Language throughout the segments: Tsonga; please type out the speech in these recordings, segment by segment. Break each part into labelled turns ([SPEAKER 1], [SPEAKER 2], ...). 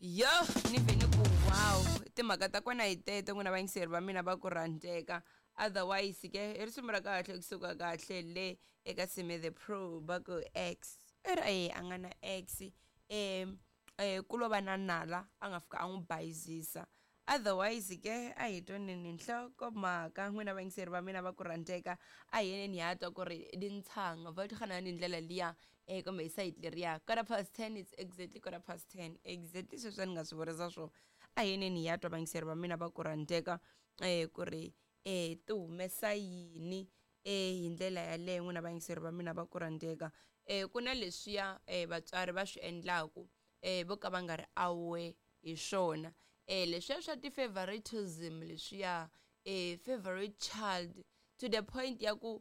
[SPEAKER 1] Yo ni vhe ni ku wow, timhaka ta kona hi teto n'wina vayingiseri va mina va ku rhandzeka. Otherwise ke i risimu ra kahle kusuka kahle le eka Sime the Pro va ku ex. I ri a nga na ex ku lo va na nala a nga fika a n'wi bayizisa. Otherwise ke a hi twaneni nhlokomhaka n'wina vayingiseri va mina va ku rhandzeka a hi yeneni hi ya twa ku ri tintshanga va hi ndlela liya kumbe hi sayiti leriya. Quarter past ten, it's exactly quarter past ten, exactly sweswi a ni nga swi vurisa swona. A hi yeneni hi ya twa vayingiseri va mina va ku rhandzeka ku ri ti humesa yini hi ndlela yaleyo n'wina vayingiseri va mina va ku rhandzeka. Ku na leswiya vatswari va swi endlaku vo ka va nga ri aware hi swona. Leswiya swa ti-favoritism leswiya favorite child to the point ya ku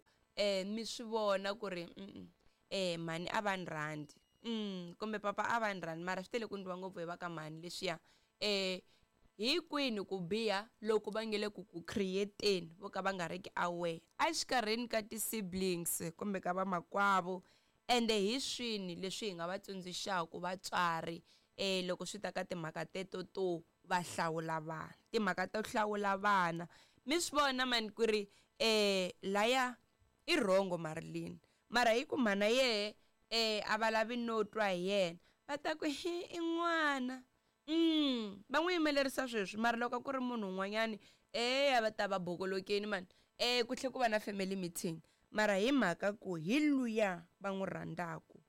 [SPEAKER 1] mi swi vona ku ri mhani a va ni rhandzi kumbe papa a va ni rhandzi mara swi tele ku endliwa ngopfu hi va ka mhani leswiya. Hi kwini ku biha loko va nge le ku ku create-eni vo ka va nga ri ki aware exikarhini ka ti-siblings kumbe ka vamakwavo, ende hi swini leswi hi nga va tsundzuxaka vatswari loko swi ta ka timhaka teto to va hlawula vana, timhaka to hlawula vana. Mi swi vona mani ku ri laya i wrong Marilyn, mara hi ku mhana yehe a va lavi no twa hi yena va ta ku hi i n'wana. Va n'wi yimelerisa sweswi mara loko ku ri munhu un'wanyani a va ta va bokolokeni mani ku tlhe ku va na family meeting mara hi mhaka ku hi luya va n'wi rhandzaku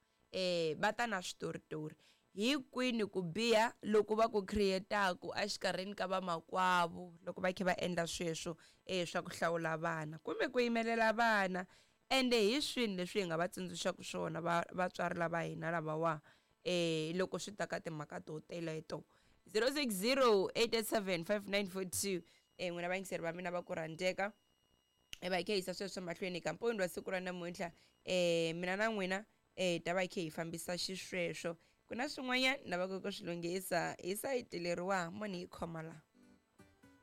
[SPEAKER 1] va ta na switoritori. Hi kwini ku biha loko va ku create-aku exikarhini ka vamakwavo loko va kha va endla sweswo swa ku hlawula vana kumbe ku yimelela vana, ende hi swini leswi hi nga va tsundzuxaka swona vatswari lava hina lavawa loko swi ta ka timhaka to teleto. 060 887 5942 n'wina vayingiseri va mina va ku rhandzeka va hi kha hi yisa sweswo mahlweni ka mpfuni wa siku ra namuntlha mina na n'wina hi ta va hi kha hi fambisa xisweswo. Ku na swin'wanyana ni lavaka ku swi lunghisa hi sayiti leriwa mo ni yi khoma la.